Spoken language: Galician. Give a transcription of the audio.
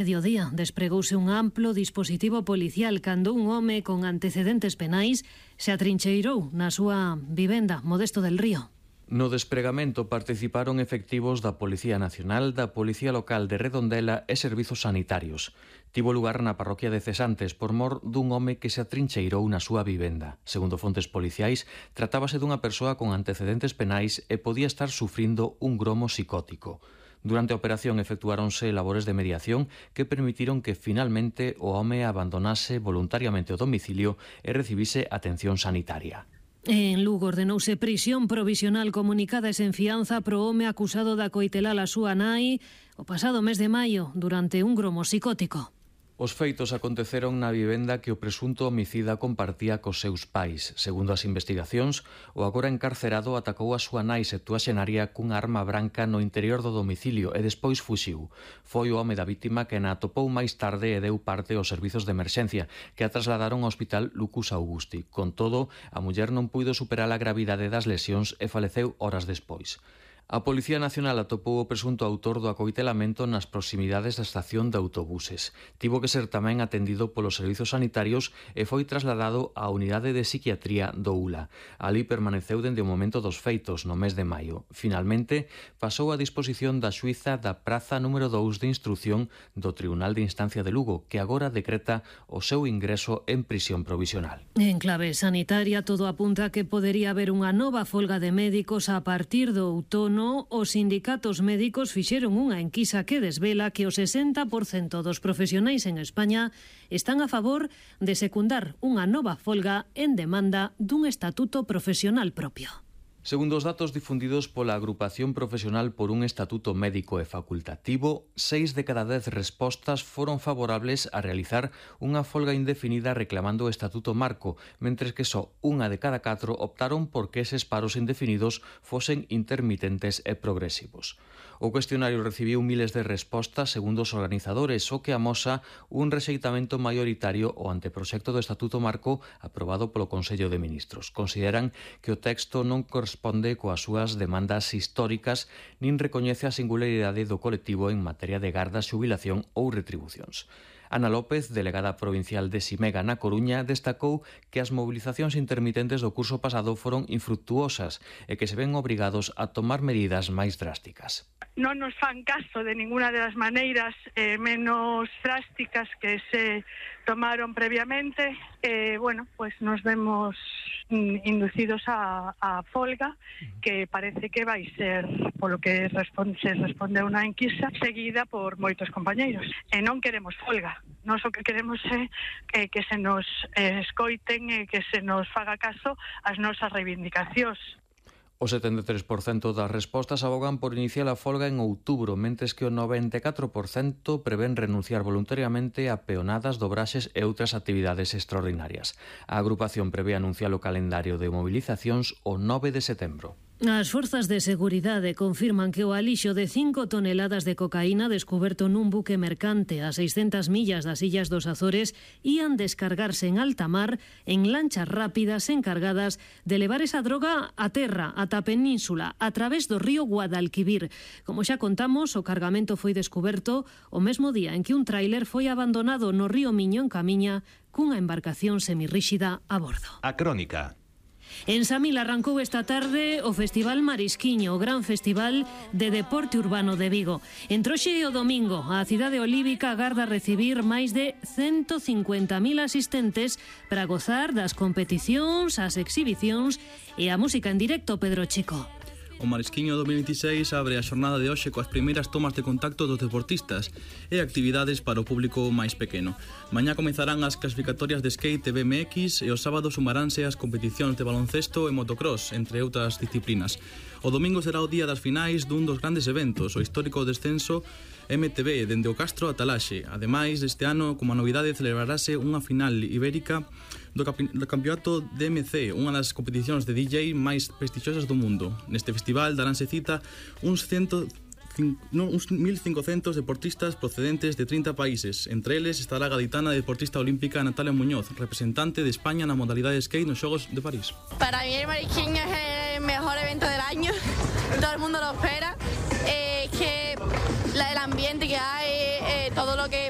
Mediodía despregouse un amplo dispositivo policial cando un home con antecedentes penais se atrincheirou na súa vivenda Modesto del Río. No despregamento participaron efectivos da Policía Nacional, da Policía Local de Redondela e servizos sanitarios. Tivo lugar na parroquia de Cesantes por mor dun home que se atrincheirou na súa vivenda. Segundo fontes policiais, tratábase dunha persoa con antecedentes penais e podía estar sufrindo un gromo psicótico. Durante a operación efectuáronse labores de mediación que permitiron que finalmente o home abandonase voluntariamente o domicilio e recibise atención sanitaria. En Lugo ordeноuse prisión provisional comunicada e sen fianza pro home acusado de acoitelar a súa nai o pasado mes de maio durante un gromo psicótico. Os feitos aconteceron na vivenda que o presunto homicida compartía cos seus pais. Segundo as investigacións, o agora encarcerado atacou a súa nai septuaxenaria cunha arma branca no interior do domicilio e despois fuxiu. Foi o home da vítima que na atopou máis tarde e deu parte aos servizos de emerxencia, que a trasladaron ao hospital Lucus Augusti. Con todo, a muller non puido superar a gravidade das lesións e faleceu horas despois. A Policía Nacional atopou o presunto autor do acoitelamento nas proximidades da estación de autobuses. Tivo que ser tamén atendido polos servizos sanitarios e foi trasladado á unidade de psiquiatría do ULA. Ali permaneceu dende o momento dos feitos, no mes de maio. Finalmente, pasou a disposición da xuíza da praza número 2 de instrución do Tribunal de Instancia de Lugo, que agora decreta o seu ingreso en prisión provisional. En clave sanitaria, todo apunta a que podería haber unha nova folga de médicos a partir do outono. Os sindicatos médicos fixeron unha enquisa que desvela que o 60% dos profesionais en España están a favor de secundar unha nova folga en demanda dun estatuto profesional propio. Segundo os datos difundidos pola Agrupación Profesional por un Estatuto Médico e Facultativo, 6 de cada 10 respostas foron favorables a realizar unha folga indefinida reclamando o Estatuto Marco, mentres que só 1 de cada 4 optaron por que eses paros indefinidos fosen intermitentes e progresivos. O cuestionario recibiu miles de respostas segundo os organizadores, o que amosa un rexeitamento maioritario ao anteproxecto do Estatuto Marco aprobado polo Consello de Ministros. Consideran que o texto non corresponde coas súas demandas históricas nin recoñece a singularidade do colectivo en materia de garda, xubilación ou retribucións. Ana López, delegada provincial de Simega na Coruña, destacou que as movilizacións intermitentes do curso pasado foron infructuosas e que se ven obrigados a tomar medidas máis drásticas. Non nos fan caso de ninguna das maneiras menos drásticas que se tomaron previamente. Pues nos vemos inducidos a folga, que parece que vai ser, polo que se respondeu na enquisa, seguida por moitos compañeiros. E non queremos folga. Nós o que queremos é que se nos escoiten e que se nos faga caso ás nosas reivindicacións. O 73% das respostas abogan por iniciar a folga en outubro, mentres que o 94% prevén renunciar voluntariamente a peonadas, dobraxes e outras actividades extraordinarias. A agrupación prevé anunciar o calendario de movilizacións o 9 de setembro. As forzas de seguridade confirman que o alixo de 5 toneladas de cocaína descuberto nun buque mercante a 600 millas das Illas dos Azores ían descargarse en alta mar en lanchas rápidas encargadas de levar esa droga a terra, ata a península, a través do río Guadalquivir. Como xa contamos, o cargamento foi descuberto o mesmo día en que un tráiler foi abandonado no río Miño en Camiña cunha embarcación semirríxida a bordo. A Crónica. En Samil arrancou esta tarde o Festival Marisquiño, o gran festival de deporte urbano de Vigo. Entre hoxe e o domingo, a cidade olívica agarda recibir máis de 150.000 asistentes para gozar das competicións, as exhibicións e a música en directo, Pedro Chico. O Marisquiño 2026 abre a xornada de hoxe coas primeiras tomas de contacto dos deportistas e actividades para o público máis pequeno. Mañá comezarán as clasificatorias de skate e BMX e o sábado sumaránse as competicións de baloncesto e motocross, entre outras disciplinas. O domingo será o día das finais dun dos grandes eventos, o histórico descenso MTB dende o Castro a Talaxe. Ademais, este ano, como a novidade, celebrarase unha final ibérica do campeonato DMC, unha das competicións de DJ máis prestixiosas do mundo. Neste festival daránse cita uns 1.500 deportistas procedentes de 30 países. Entre eles estará a gaditana deportista olímpica Natalia Muñoz, representante de España na modalidade skate nos Xogos de París. Para mí el Marisquiño es el mejor evento del año, todo el mundo lo espera, que el ambiente que hay, todo lo que